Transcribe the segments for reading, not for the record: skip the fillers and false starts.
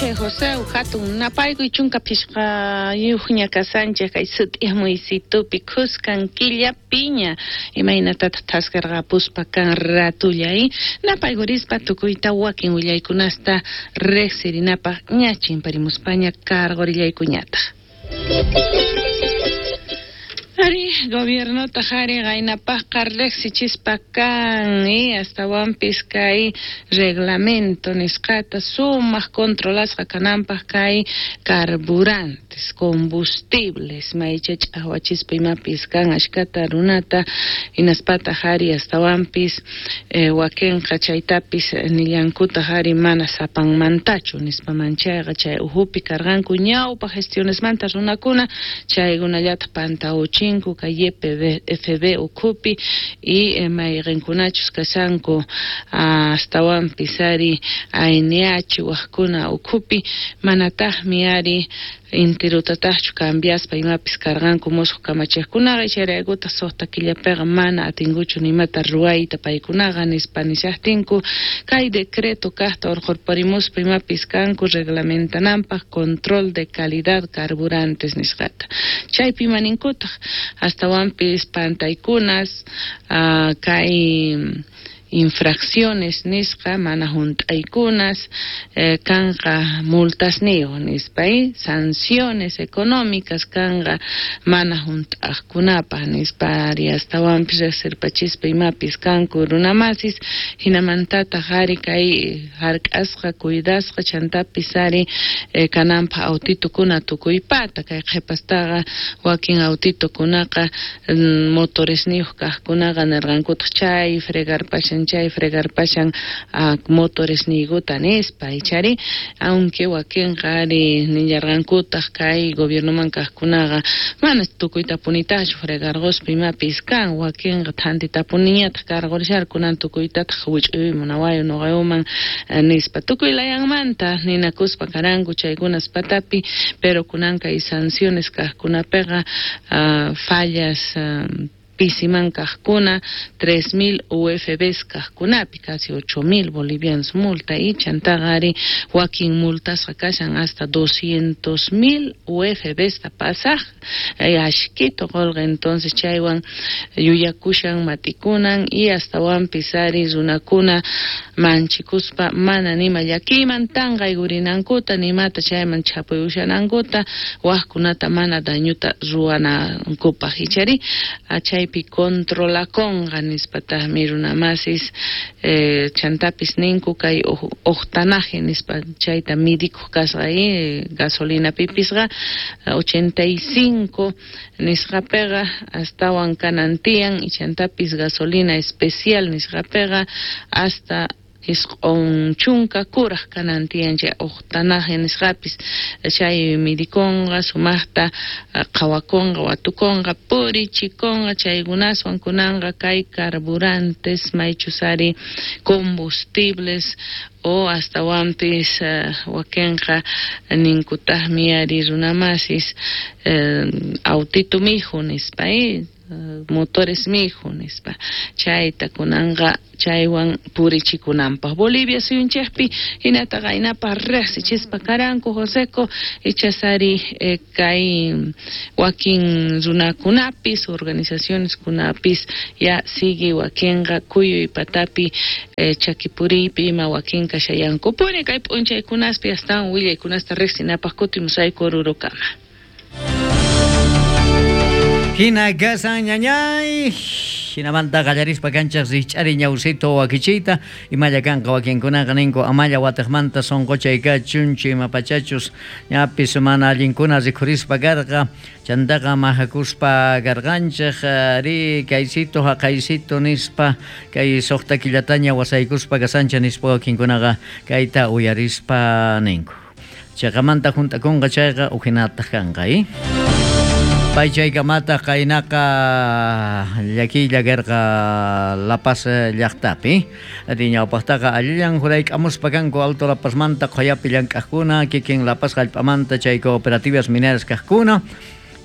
p'unchay José, hatun napaykuy 15 ña kasanchej kay sut'iyamuysitupi khuskan killapiña imaynatataq thaskarqapuspa kan ratulla napaykurispa tukuyta wakin willaykunasta riqsirinapaq ña chimparimuspaña karqurillaykuñataq. Ari, gobiernota ari qaynapaqqa riqsichispa kan astawanpis kay reglamento nisqata sumaq controlasqa kananpaq kay carburantes, combustibles maycha ch'aqwachispa imapis kan ashkata runata hinaspataq ari astawanpis wakinqa chaytapis nillankutaq ari mana sapanmantachu nispa manchayqa chay uhupi karqanku ñawpa gestionesmanta runakuna chaykunallataq pantauchin kay YPFB ukhupi y mayqinkunachus kashanku astawanpis ari ANH wajkuna ukhupi manataqmi ari intirutataqchu cambiaspa imapis karqanku musuq kamachiqkunaqa chayraykutaq suqta killapiqa mana atinkuchu nimata ruwayta paykunaqa nispa nishaqtinku kay decreto kaqta urqurparimuspa imapis kanku reglamentananpaq control de calidad carburantes nisqata chaypi imaninkutaq astawanpis pantaykunas kay infracciones nisqa mana hunt'aykunas kanqa multasniyuq nispa sanciones económicas kanqa mana hunt'aqkunapaq nispa ari astawanpis riqsirpachispa imapis kanku runamasis hinamantataq ari kay hark'asqa cuidasqa chantapis ari kananpaq autitukuna tukuypata kay qhipastaqa wakin autitukunaqa motoresniyuq kaqkunaqa nirqankutaq chay fregarpashan chay fregarpashan motoresniykuta nispa ichari aunque wakinqa ari nillarqankutaq kay gobiernoman kaqkunaqa mana tukuytapunitachu fregarquspa imapis kan wakinqa thantitapuniñataq karqurisharqa kunan tukuytataq wich'uyman nawayu nuqayuman nispa tukuy layanmanta ninakuspa karanku chaykunas patapi pero kunan kay sanciones kaqkunapiqa fallas pisiman kaqkuna 3000 UFBs kaqkunapi casi 8000 bolivianos multa y chantaqa ari wakin multasqa kashan hasta 200,000 UFBs ta pasaq ashkito qolqa entonces chaywan yuyakushan matikunan y astawanpis ari runakuna manchikuspa mana nima llakiyman tanqaykurinankuta nimata chayman chapuyushanankuta waqkunata mana dañuta ruwanankupaq ichari chaypi controlakonqa nispataqmi runamasis chantapis ninku kay octanaje nispa chayta midikuq kasqa gasolinapipisqa 85 nisqapiqa astawan kanan tiyan y chantapis gasolina especial nisqapiqa hasta 90 kuraj kanan tiyan chay octanaje nisqapis chay midikonqa sumaqta qhawakunqa watukunqa purichikunqa chaykunaswan kunanqa kay carburantes maychus ari combustibles o astawanpis wakinqa ninkutaqmi ari runamasis autitu mihu nispa motores mihu nispa chayta kunanqa chaywan purichikunanpaq Bolivia suyunchikpi hinata qaynapaq riqsichispa karanku Joseco ichasari kay wakin runakunapis organizaciones kunapis ya sigue wakinqa kuyuy patapi chakipuriypi ima wakinqa shayankupuni kay p'unchaykunaspi astawan willaykunasta riqsinapaq kutimusayku Orurokama. Hina kasan ñañay hinamanta qallarispa kanchaq rikch'ari ñawsito wakichiyta imalla kanqa wakinkunaqa ninku amalla wataqmanta sunquchay kachunchu imapachachus ñapis mana allinkuna rikhurispa karqa chantaqa mahakuspa karqanchik ri kaysito haqaysito nispa kay suqta killataña wasaykuspa kasancha nispa wakinkunaqa kayta uyarispa ninku chaqamanta hunt'akunqa chayqa uhinataq kanqa Paychaykamata qaynaqa llakiylla karqa La Paz llaqtapi ñawpaqtaqa allillan jurayk'amuspa kanku Alto La Pazmanta qhuyapi llank'aqkuna kikin La Paz hallp'amanta chay cooperativas mineras kaqkuna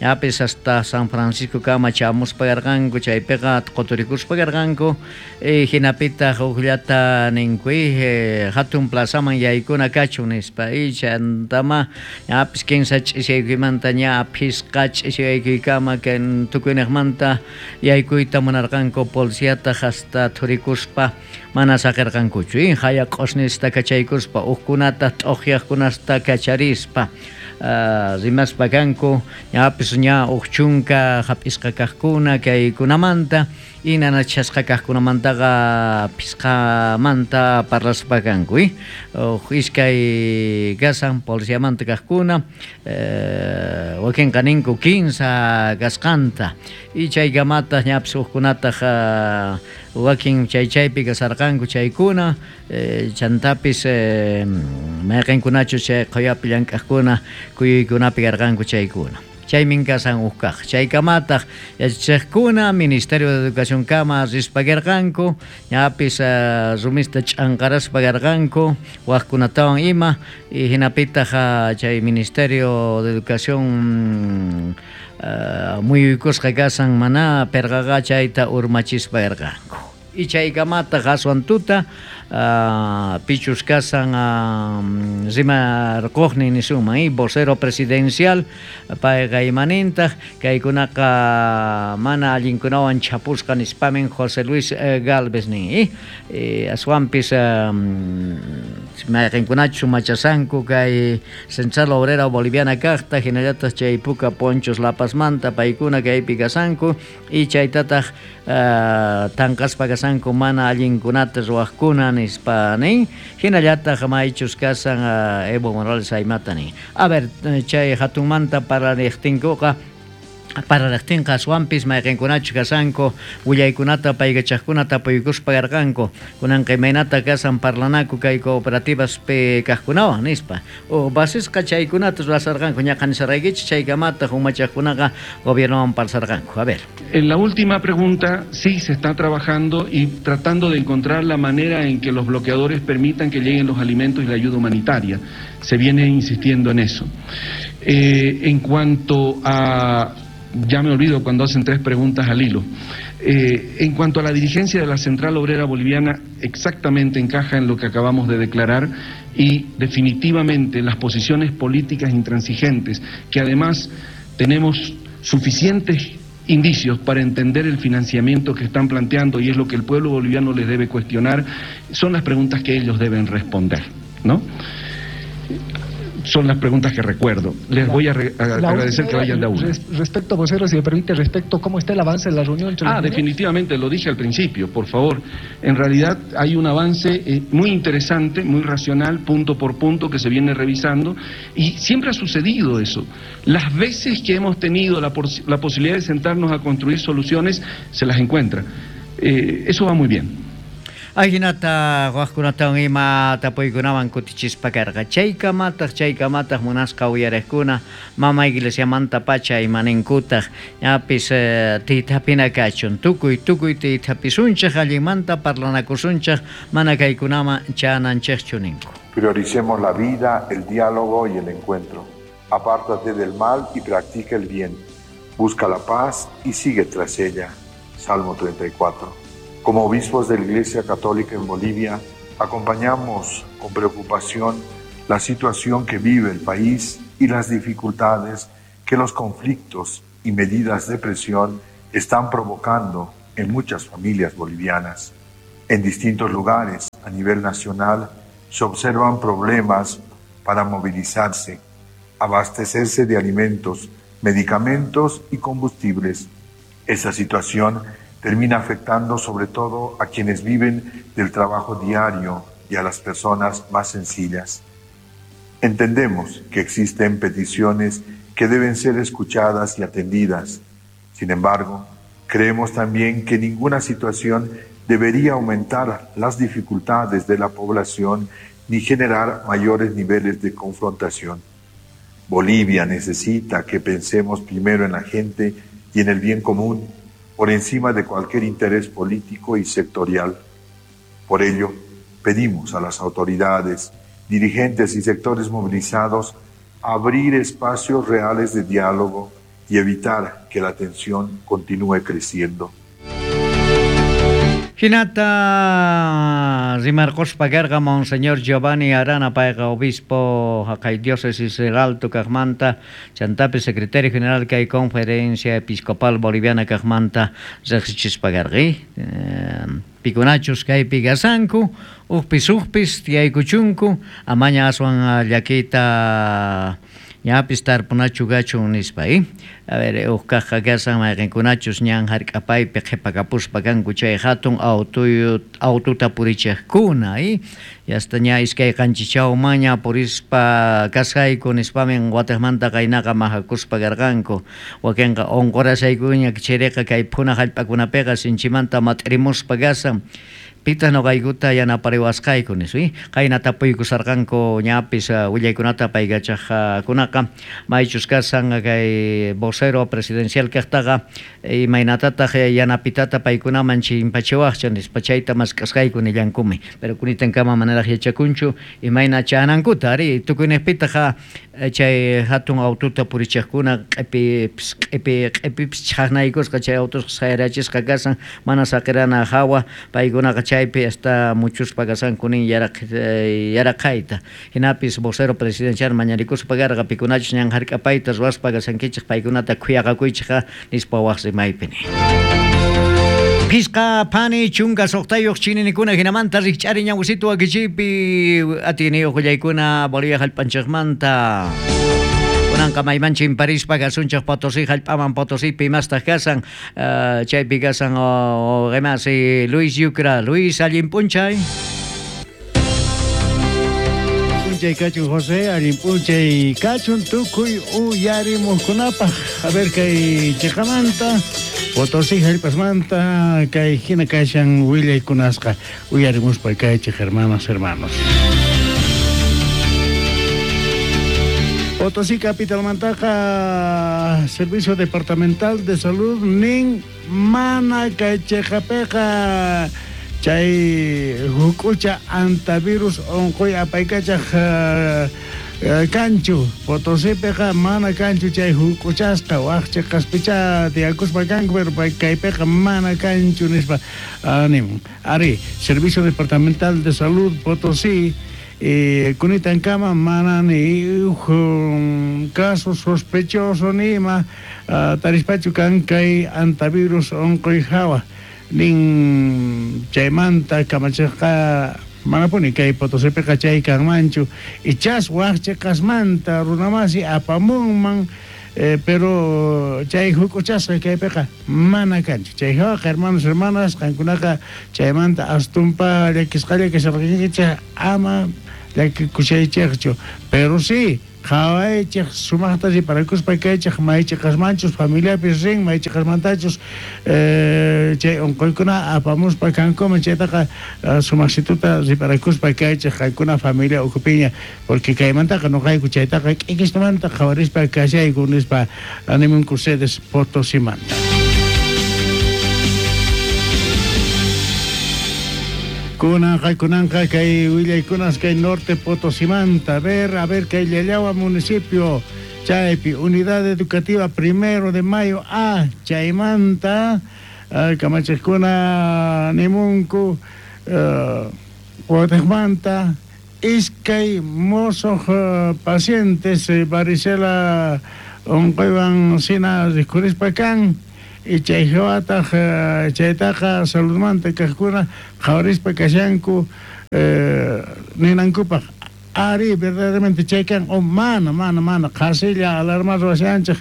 Ñapis hasta San Francisco kama chamuspa karqanku, chaypiqa quturikuspa karqanku, hinapitaq hukllata ninku, hatun plazaman yaykuna kachun nispa, chantama ñapis 15 ch'isiykuymanta ña phisqa ch'isiyakuykama tukuyniqmanta yaykuyta munarqanku, policiataq hasta thurikuspa mana saqirqankuchu, haya q'osnista kachaykuspa, hukkunata t'uqyaqkunasta kacharispa, rimaspa kanku, ñapis ña huk chunka hap'isqa kaqkuna kaykunamanta, inanachasqa kaqkunamantaqa phisqamanta parlaspa kanku, huk iskay kasan policiamanta kaqkuna, wakinqa ninku 15 kasqanta, y chaykamataq ñapis hukkunataq wakin chay chaypi kasarqanku chaykuna, chantapis mayqinkunachu chay qhuyapi llank'aqkuna kuyuykunapi karqanku chaykuna. Chaymin kasan huk kaq. Chaykamataq yachachiqkuna Ministerio de Educación kama rispa karqanku, ñapis rumista ch'anqaraspa karqanku, waqkunatawan ima, y hinapitaq chay Ministerio de Educación muyuykusqa kasan mana perqaqa chayta urmachispa karqanku. Y chaykamataq aswan tuta pichus kasan rimarquqnin nisunman, vocero presidencial payqa imanintaq kaykunaqa mana allinkunawan chapusqa nispamin José Luis Gálvez nin, aswanpis mayqinkunachu machasanku kay Central Obrera Boliviana kaqta hinallataq chay puka ponchos La Pazmanta paykuna kaypi kasanku, y chaytataq tanqaspa kasanku mana allinkunata ruwaqkuna nispa nin, hinallataq maychus kasan Evo Morales aymata nin. A ver, chay hatunmanta parariqtinkuqa, parariqtinqa aswanpis mayqinkunachu kasanku willaykunata paykachaqkuna tapuykuspa karqanku, kunanqa imaynata kasan parlanaku kay cooperativaspi kaqkunawan nispa. O basisqa chaykunata ruwasarqanku, ñaqa nisarqaykichik chaykamataq umachaqkunaqa gobiernowan parsarqanku. A ver. En la última pregunta, sí se está trabajando y tratando de encontrar la manera en que los bloqueadores permitan que lleguen los alimentos y la ayuda humanitaria. Se viene insistiendo en eso. En cuanto a... Ya me olvido cuando hacen tres preguntas al hilo. En cuanto a la dirigencia de la Central Obrera Boliviana, exactamente encaja en lo que acabamos de declarar y definitivamente las posiciones políticas intransigentes, que además tenemos suficientes indicios para entender el financiamiento que están planteando y es lo que el pueblo boliviano les debe cuestionar, son las preguntas que ellos deben responder, ¿no? Son las preguntas que recuerdo. Les voy a agradecer que vayan de a una. Respecto, vocero, si me permite, respecto cómo está el avance de la reunión entre los Definitivamente, lo dije al principio, por favor. En realidad hay un avance muy interesante, muy racional, punto por punto, que se viene revisando, y siempre ha sucedido eso. Las veces que hemos tenido la posibilidad de sentarnos a construir soluciones, se las encuentra. Eso va muy bien. Ajinata waqkunatawan ima tapuykunawan kutichispa karqa. Chaykamataq munasqa uyariqkuna mama iglesiamanta pacha imaninkutaq ñapis tiytapina kachun. Tukuy tiytapisunchik allinmanta parlanakusunchik mana kaykunaman chananchikchu ninku. Prioricemos la vida, el diálogo y el encuentro. Apártate del mal y practica el bien. Busca la paz y sigue tras ella. Salmo 34. Como obispos de la Iglesia Católica en Bolivia, acompañamos con preocupación la situación que vive el país y las dificultades que los conflictos y medidas de presión están provocando en muchas familias bolivianas. En distintos lugares a nivel nacional se observan problemas para movilizarse, abastecerse de alimentos, medicamentos y combustibles. Esa situación termina afectando sobre todo a quienes viven del trabajo diario y a las personas más sencillas. Entendemos que existen peticiones que deben ser escuchadas y atendidas. Sin embargo, creemos también que ninguna situación debería aumentar las dificultades de la población ni generar mayores niveles de confrontación. Bolivia necesita que pensemos primero en la gente y en el bien común, por encima de cualquier interés político y sectorial. Por ello, pedimos a las autoridades, dirigentes y sectores movilizados abrir espacios reales de diálogo y evitar que la tensión continúe creciendo. Hinata rimarquspa karqa Monseñor Giovanni Arana payqa obispo haqay diócesis El Alto kaqmanta chantapis secretario general kay Conferencia Episcopal Boliviana kaqmanta riqsichispa karqa. Pikunachus kaypi kasanku ujpis ujpis tiyaykuchunku amaña aswan llakiyta ñapis tarpunachu kachun nispa. A ver, uj kaqqa kasan mayqinkunachus ñan hark'apaypi qhipakapuspa kanku chay hatun aututa purichiqkuna. Yasta ña iskay qanchichawmanña purispa kasqayku nispamin watiqmanta qaynaqa mahakuspa karqanku. Wakinqa unqurashaykuña chiriqa kay phuna hallp'akunapiqa sinchimanta mat'irimuspa kasan. Pitaq nuqaykuta yanapariwasqayku nispa. Qayna tapuykusarqanku ñapis willaykunata paykachaqkunaqa maychus kasan kay vocero presidencial kaqtaqa imaynatataq yanapitata paykunaman chimpachiwaqcha nispa chayta mask'asqayku nillankumi. Pero kunitankama manaraq yachakunchu imayna chanankuta ari tukuyniqpitaq chay hatun aututa purichiqkuna q'ipipis chhaqnaykusqa chay autusqa sayrachisqa kasan mana saqirana hawa paykunaqa chaypi hasta muchuspa kasanku nin yaraqayta. Hinapis vocero presidencial mañarikuspa karqa pikunachus ñan hark'apayta ruwaspa kasankichik paykunata khuyaqakuychikqa nispa waq rimaypi nin. Phisqa phani chunka suqtayuq chininikuna hinamanta rikch'ari ñawsitu wakichiypi atiyniyuq willaykuna Bolivia hallp'anchikmanta. Kunanqa mayman chimparispa kasunchik Potosí hallp'aman Potosípi imastaq kasan chaypi kasan qimasi Luis Yucra. Luis, allin p'unchay. P'unchay kachun José, allin p'unchay kachun tukuy uyarimuqkunapaq. A ver kay chiqamanta Potosí hallp'asmanta kay hina kashan willaykunasqa uyarimuspa kaychik hermanas, hermanos. Potosí capitalmantaqa Servicio Departamental de Salud nin mana kay chiqapiqa chay huk'ucha antivirus unquy apaykachaq kanchu. Potosípiqa mana kanchu chay huk'uchasqa waq chiqaspicha tiyakuspa kanku pero kaypiqa mana kanchu nispa nimun. Ari, Servicio Departamental de Salud Potosí kunitankama mana ni caso sospechoso ni ima tarispachu kan kay antivirus unquy hawa nin chaymanta kamachiqqa manapuni kay Potosípiqa chay kanmanchu ichas waq chiqasmanta runamasi apamunman pero chay huk'uchasqa kaypiqa mana kanchu. Chay hawaqa hermanos, hermanas qankunaqa chaymanta astumpa llakisqalla kasharqankichik ama llakikushaychikchu. Pero sí qhawaychik sumaqta riparakuspa kaychik maychiqasmanchus familiapis rin maychiqasmantachus chay unquykuna apamuspa kankuman chaytaqa sumaqsituta riparakuspa kaychik qankuna familia ukhupiña porque kaymantaqa nuqayku chaytaqa k'ikistamanta qhawarispa kashayku nispa animunku sedes Potosímanta. Kunanqa kay willaykunas kay norte Potosímanta. A ver kay Llallagua municipio chaypi Unidad Educativa 1 de Mayo A chaymanta kamachiqkuna nimunku watiqmanta iskay mosoq pacientes varicela unquywan sina rikhurispa kan. Y chay hawataq chaytaqa saludmanta kaqkuna qhawarispa kashanku ninankupaq ari verdaderamente chay kan o mana mana qhasilla alarma ruwashanchik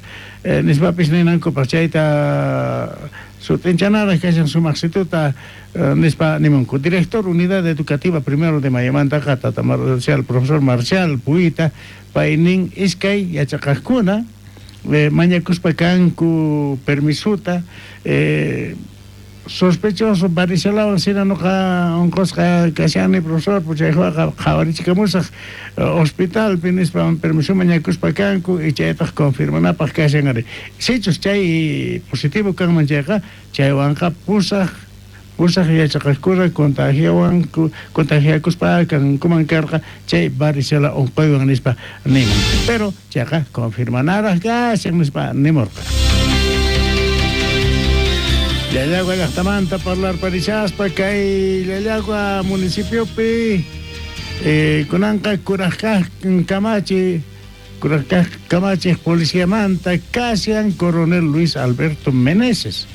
nispapis ninankupaq chayta sut'inchanaraq kashan sumaqsituta nispa nimunku. Director Unidad Educativa 1 de Mayomantaqa tata Marcial, profesor Marcial Puita paynin iskay yachaqaqkuna mañakuspa kanku permisuta sospechoso varicelawan sina nuqa unqusqa kashani profesor chaywaqa qhawarichikamusaq hospitalpi nispa permiso mañakuspa kanku y chaytaq confirmanapaq kashan ari. Sichus chay positivo kanman chayqa chaywanqa pusaq Pusaj yachaqajkuna contagiawanku contagiakuspa kankuman karqa chay varicela onqoywan nispa nimun. Pero chayqa confirmanaraj kashan nispa nimurqa. Llallagua llajtamanta parlarparishaspa kay Llallagua municipiopi kunanqa kuraj kaj kamachi kuraj kaj kamachej policiamanta kashan coronel Luis Alberto Meneses,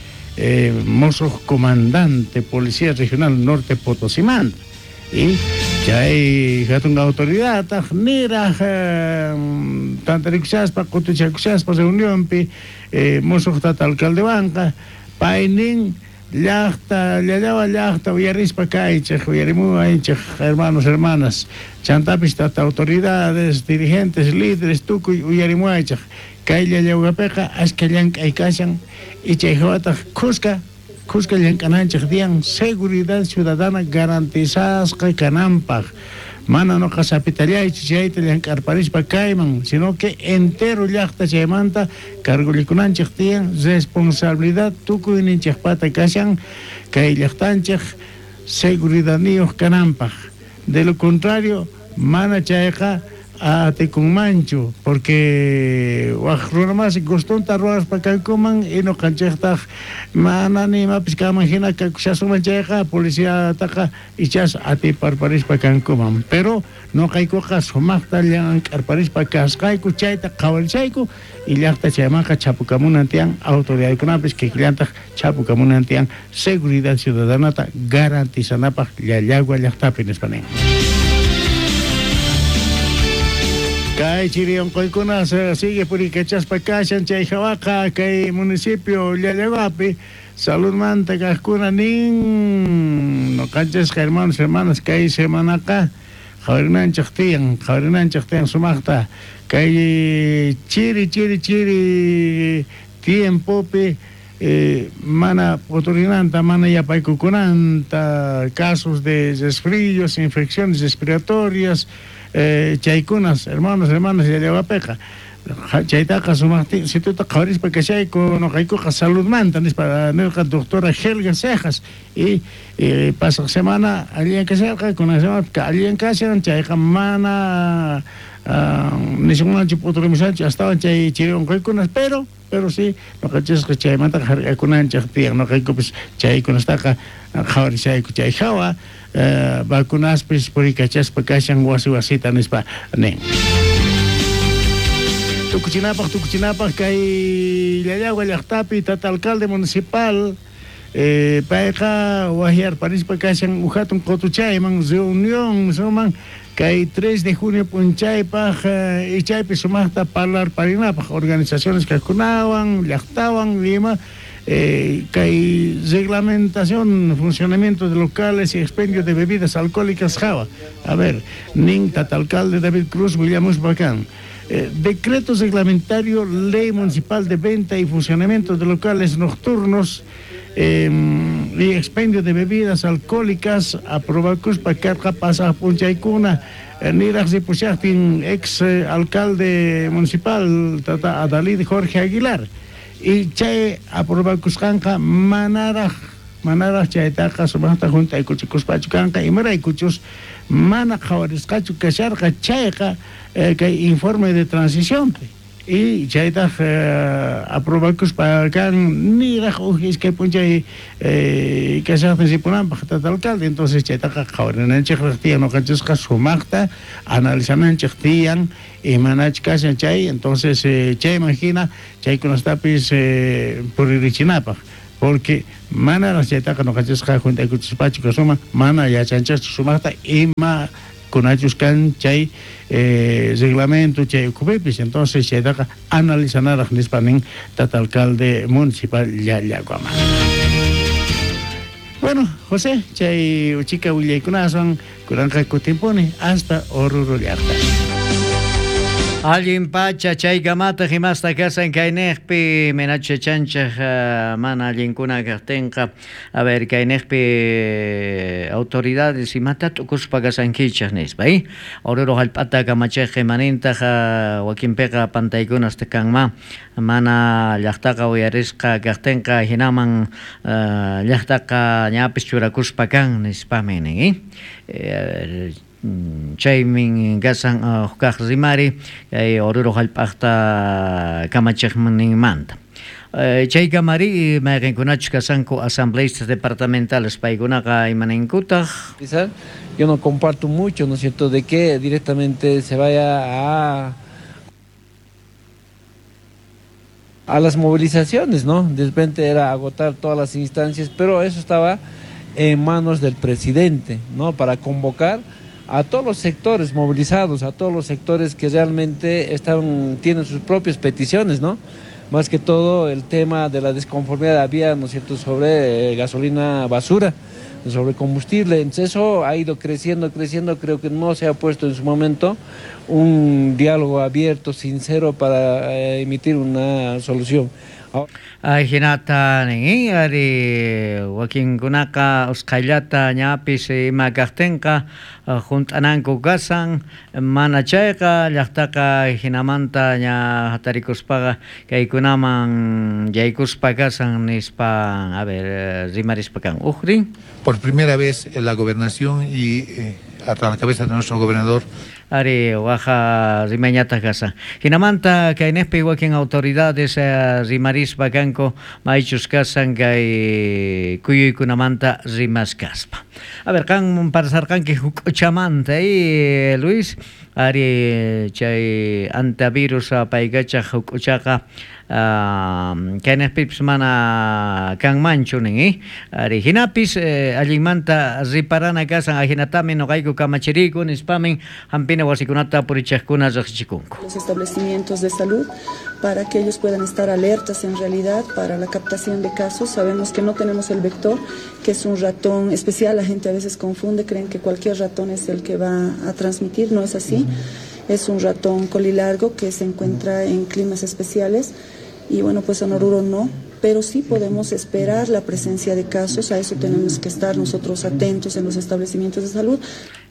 mosoj comandante Policía Regional Norte Potosimanta. Y chay hatun autoridadtaj niraj tantarikushaspa qotuchakushaspa reunionpi mosoj tata alcaldewanqa paynin llajta Llallagua llajta uyarispa kaychej uyarimuwaychej hermanos hermanas chantapis tata autoridades dirigentes líderes tukuy uyarimuwaychej kay Llallaguapeqa ashkha llank'ay kashan y chay jawataj khuska khuska llank'ananchej tiyan seguridad ciudadana garantizasqa kananpaj mana noqa sapitallaychu chayta llank'arparispa kayman sino que entero llajta chaymanta cargollikunanchej tiyan responsabilidad tukuyninchejpata kashan kay llajtanchej seguridadniyoj kananpaj de lo contrario mana chayqa atikunmanchu porque waj runa masi gustonta ruwaspa kankuman y noqanchejtaj mana ni imapis kanman jina kakushasunman chayqa policiataqa ichas atiparparispa kankuman pero noqaykuqa sumajta llank'arparispa kasqayku chayta qhawarishayku y llajta chaymanqa chhapukamunan tiyan autoridadkunapis kikillantaj chhapukamunan tiyan seguridad ciudadanata garantizanapaj Llallagua llajtapi nispa nin. Kay chiri onqoykuna sigue puriykachaspa kashan chay jawaqa kay municipio Llallaguapi saludmanta kajkuna nin noqanchisqa hermanos hermanas kay semanaqa qhawarinanchej tiyan qhawarinanchej tiyan sumajta kay chiri chiri chiri tiempopi mana p'uturinanta mana yapaykukunanta casos de resfríos infecciones respiratorias chaykunas hermanos hermanas Llallaguapeqa chaytaqa sumajsituta qhawarispa kashayku noqaykuqa saludmanta nispa nerqa doctora Helga Cejas y pasaj semana allinyan kasharqa kunan semana allinyan kashan chayqa mana nisunmanchu p'uturimushanchu astawan chay chiri onqoykunas pero pero sí noqanchisqa chaymantaqa hark'akunanchej tiyan noqaykupis chaykunastaqa qhawarishayku chay jawa vacunaspis puriykachaspa kashan wasi wasita nispa nin. Tukuchinapaj tukuchinapaj kay Llallagua llajtapi tata alcalde municipal payqa wajyarparispa kashan uj hatun qotuchayman reunión suman kay 3 de junio p'unchaypaj y chaypi sumajta parlarparinapaj organizaciones kajkunawan llajtawan ima kay reglamentación funcionamiento de locales y expendio de bebidas alcohólicas jawa. A ver, nin tata alcalde David Cruz willamuspa kan. Decreto reglamentario ley municipal de venta y funcionamiento de locales nocturnos y expendio de bebidas alcohólicas aprobakuspa karqa pasaj p'unchaykuna niraj ripushajtin ex alcalde municipal tata Adalid Jorge Aguilar y chay aprobakusqanqa manaraj manaraj chaytaqa sumajta junt'aykuchikuspachu kanqa imaraykuchus mana qhawarisqachu kasharqa chayqa kay informe de transicionpi y chaytaj aprobakuspa kan niraj uj iskay p'unchay kashajtin ripunanpaj tata alcalde entonces chaytaqa qhawarinanchejraj tiyan noqanchisqa sumajta analizananchej tiyan imanach kashan chay entonces chayman hina chaykunastapis puririchinapaj porque manaraj chaytaqa noqanchisqa junt'aykuchispachu kasuman mana yachanchejchu sumajta ima kunachus kan chay reglamento chay ukhupipis entonces chaytaqa analizanaraj nispa nin tata alcalde municipal Llallaguaman. Bueno, José, chay uchika willaykunaswan kunanqa kutimpuni hasta Oruro llajta. Allin pacha chaykamataq imasta kasan kayniqpi minachu yachanchej mana allinkuna kajtinqa a ver kayniqpi autoridades imata t'ukuspa kasankichej nispa Oruro jallp'ata kamachejqa imanintaq wakinpiqa pantaykunas kanman mana llajtaqa uyarisqa kajtinqa jinaman llajtaqa ñapis churakuspa kan nispamin nin chaymin kasan huk rimari kay Oruro jallp'aqta kamachejninmanta. Chaykamari mayqinkunachus kasanku asambleístas departamentales paykunaqa imaninkutaq. Yo no comparto mucho, ¿no es cierto?, de que directamente se vaya a las movilizaciones, ¿no? De repente era agotar todas las instancias, pero eso estaba en manos del presidente, ¿no? Para convocar a todos los sectores movilizados, a todos los sectores que realmente tienen sus propias peticiones, ¿no? Más que todo el tema de la desconformidad había, ¿no es cierto?, sobre gasolina basura, sobre combustible. Entonces eso ha ido creciendo, creciendo. Creo que no se ha puesto en su momento un diálogo abierto, sincero, para emitir una solución. Ajinata nin ari wakinkunaqa usqhayllata ñapis ima kajtinqa junt'ananku kasan mana chayqa llaqtaqa jinamanta ña hatarikuspaqa kaykunaman yaykuspa kasan nispa a ver rimarispa kan ujrin. Por primera vez en la gobernación y a la cabeza de nuestro gobernador ari waja rimañata kasan. Jinamanta kayneqpi wakin autoridades rimarispa kanku maychus kasan kay kuyuykunamanta rimaskaspa. A ver, qan parsarqanki huk'uchamanta Luis, ari chay antivirus apaykachaq huk'uchaqa kayneqpipis mana kanmanchu nin ari hinapis allinmanta riparana kasan ajinatami noqayku kamachiriku nispamin hampina wasikunata purichaqkuna riqsichikunku. Los establecimientos de salud para que ellos puedan estar alertas en realidad para la captación de casos. Sabemos que no tenemos el vector, que es un ratón especial. La gente a veces confunde, creen que cualquier ratón es el que va a transmitir. No es así. Es un ratón colilargo que se encuentra en climas especiales y bueno, pues en Oruro no, pero sí podemos esperar la presencia de casos, a eso tenemos que estar nosotros atentos en los establecimientos de salud.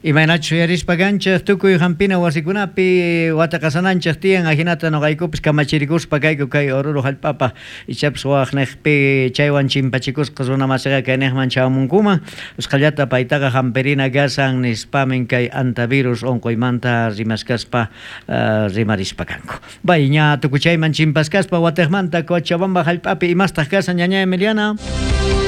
Imaynachu yarispa kanchej tukuy hampina wasikunapi wataqasananchej tiyan ajinata noqaykupis kamachirikuspa kayku kay Oruro jallp'apaj ichapis waqnejpi chaywan chimpachikusqa runa masiqa kaynejman chawamunkuman usqhallata paytaqa hampirina kasan nispamin kay antivirus unquymanta rimaskaspa rimarispa kanku. Bay ña tukuchayman chimpaskaspa watejmanta Cochabamba jallp'api imastaq kasan ñaña Emiliana.